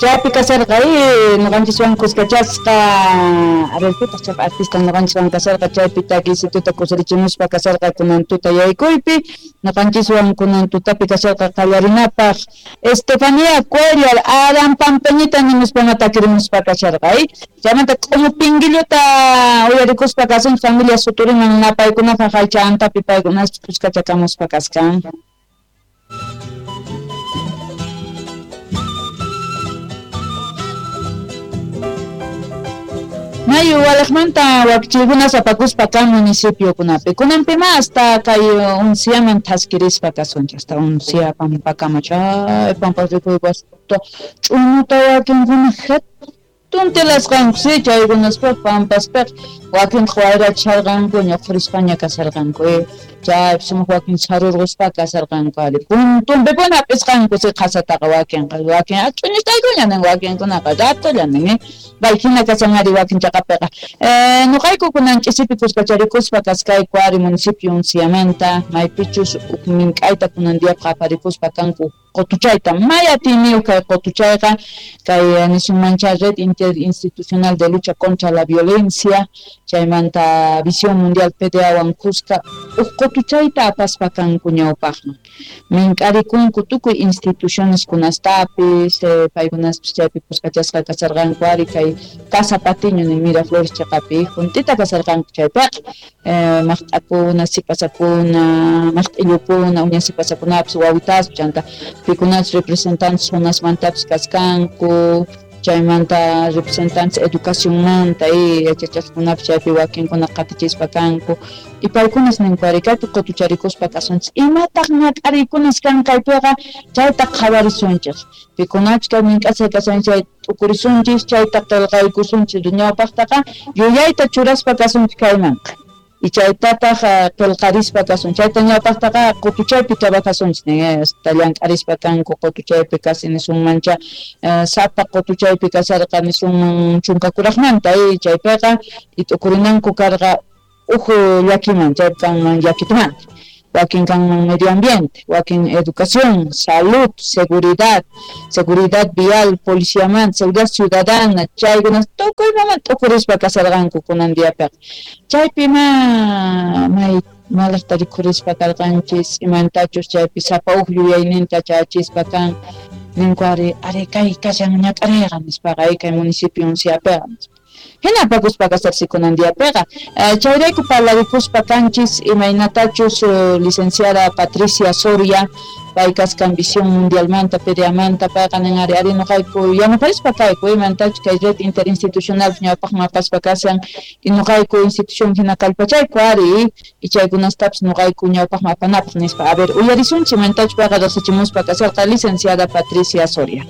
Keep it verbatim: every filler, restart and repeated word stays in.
Chaypi kasarqa ñuqanchiswan kuskachasqa, a ver, pitaq chaypi artista ñuqanchiswan kasarqa, chaypi takisituta kusirichimuspa kasarqa kunan tuta yaykuypi, ñuqanchiswan kunan tutapi kasarqa qallarinapaq Estefanía Cuellar, Aran Pampeñita nimuspana takirimuspa kasarqa, chaymanta k'umu pinguilluta uyarikuspa kasun familia suturiman napaykunapaq aycha antapi paykunas kuskachakamuspa kaskan. Mayu walaqmanta wakchikunas apakuspa kan municipiokunapi. Kunanpima hasta kay unsiaman thaskirispa kasunchik, hasta unsia pampakama chay pampa rikuypasta ch'uñuta wakinkuna hatun tilasqanku si chaykunaspaq pampaspaq wakinqa wayrachisharqanku ñuqhurispaña kasarqanku chaypi sumaq wakin sarurquspa kasarqanku ari puntunpipuni hap'isqanku si qhasataqa wakinqa wakin ch'uñustaykuña nin wakinkunaqa ratolla nin bay hina kashan ari wakin chaqapiqa ñuqayku kunan ch'isipi kuskacharikuspa kaskayku ari municipio unsiamanta maypichus huk mink'ayta kunan diyapaq aparikuspa kanku qotuchayta may atiyniyuq kay qotuchayqa kay nisunmancha Red Interinstitucional de Lucha contra la Violencia chaymanta Visión Mundial P D A wan kuska huk qotuchayta apaspa kanku ñawpaqman mink'arikunku tukuy instituciones kunastapis paykunaspis chaypi kuskachasqa kasarqanku ari kay Casa Patiño nin Miraflores chaqapi juntita kasarqanku chaypiqa maqt'akuna sipasakuna maqt'illukuna uña sipasakunapis wawitaspi chanta pikunas representantes zonasmantapis kaskanku chaymanta representantes educacionmanta y yachachaqkunapis chaypi wakinkuna qatichispa kanku y paykunas ninku ari kaypi qutucharikuspa kasunchik imataq ñak'ariykunas kan kaypiqa chayta qhawarisunchik pikunachus kay mink'asqa kashan chay t'ukurisunchik chayta qillqaykusunchik ñawpaqtaqa yuyayta churaspa kasunchik kaymanqa y chaytataq qillqarispa kasun chayta ñawpaqtaqa qutuchaypi trabajasunchik nin hasta llank'arispa kanku qutuchaypi kasi nisunmancha sapa qutuchaypi kasarqa nisunman chunka kuraqmanta chaypiqa y t'ukurinanku karqa huk llakiman chaypi kanman llakitumanta wakin kanman medio ambiente, wakin educación, salud, seguridad, seguridad vial, policiamanta, seguridad ciudadana, chaykunas tukuymaman t'ukurispa kasarqanku kunan diapiqa chaypi ma may malaqta rikhurispa karqanchis imantachus chaypi sapa huk yuyayninta chayachispa kan ninku ari ari kay kashan ñak'ariyqa nispaqa kay municipio unsiapiqa hina apakuspa kasarsi kunan diapiqa chayrayku parlarikuspa kanchis imaynatachus licenciada Patricia Soria pay kaskan Visión Mundialmanta P D Amanta payqa nin ari ari ñuqayku yanaparispa kayku imantachus kay red interinstitucional ñawpaqman apaspa kashan y ñuqayku institución hina kallpachayku ari y chaykunastapis ñuqayku ñawpaqman apanapaq nispa a ver uyarisunchik imantachus payqa riqsichimuspa kasharqa licenciada Patricia Soria.